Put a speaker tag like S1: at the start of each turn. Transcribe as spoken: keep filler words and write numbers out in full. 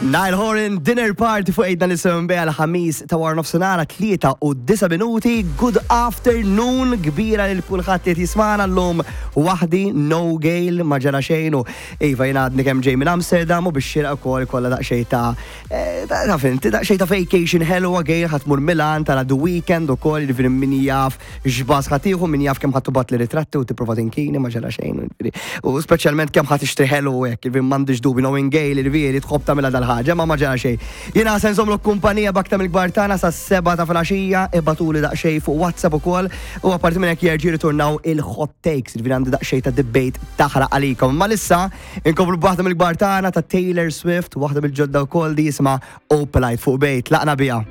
S1: Niall Horan, Dinner Party fuq Għidna l-Isem għal Ħamis ta' wara nofsinhar, tlieta u disa' minuti. Good afternoon kbira lil kulħadd li jismagħna llum waħdi, no Gail, ma ġara xejn u iva, jiena għadni kemm ġej minn Amsterdam u biex xieraq ukoll kollha daqsxejn ta' eh, ta' fint, daqsxejn ta' vacation ħelwa. Gail ħa tmur Milan tara The Weeknd ukoll, jiġifieri min jaf x'baż ħa tieħu, min jaf kemm ħa tibgħatli ritratti u tipprova tinkini, ma ġara xejn. U speċjalment kemm ħa tixtri ħelu u hekk, jiġifieri m'għandix dubi, knowing Gail, jiġifieri tħobb tagħmilha dal-ħaġa, ma ma ġara xejn. Jiena se nżommlok kumpanija b'aktar mill-kbar tagħna sas-sebgħa ta' filgħaxija, ibagħtuli daqsxejn fuq WhatsApp ukoll u apparti minn hekk jerġgħu ritornaw il-hot takes, jiġifieri għandi daqsxejn ta' debate taħraq għalikom. Ma issa inkomplu b'waħda mill-kbar tagħna ta' Taylor Swift, waħda mill-ġodda wkoll di jisimha Opalite fuq Bejt, laqna biha.